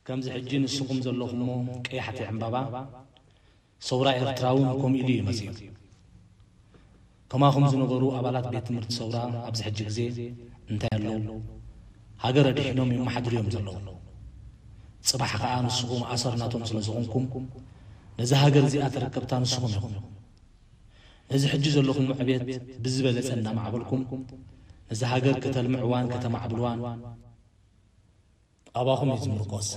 ከምዚ ሕጂ ንስኹም ዘለኹሞ ቀያሕቲ ዕምባባ፣ ሰውራ ኤርትራ እውን ከምኡ ኢሉ እዩ መጺኡ። ከማኹም ዝነበሩ ኣባላት ቤት ትምህርቲ ሰውራ ኣብዚ ሕጂ ግዜ እንታይ ኣለዉ? ሃገር ኣድሒኖም የመሓድሩ እዮም ዘለዉ። ጽባሕ ከኣ ንስኹም ኣሰር ናቶም ስለ ዝኾንኩም፣ ነዛ ሃገር እዚኣ ተረከብታ ንስኹም ኢኹም። ነዚ ሕጂ ዘለኹም ዕብየት ብዝበለጸ እናማዕበልኩም፣ ነዛ ሃገር ከተልምዕዋን ከተማዕብልዋን ኣባኹም እዩ ዝምርኮስ።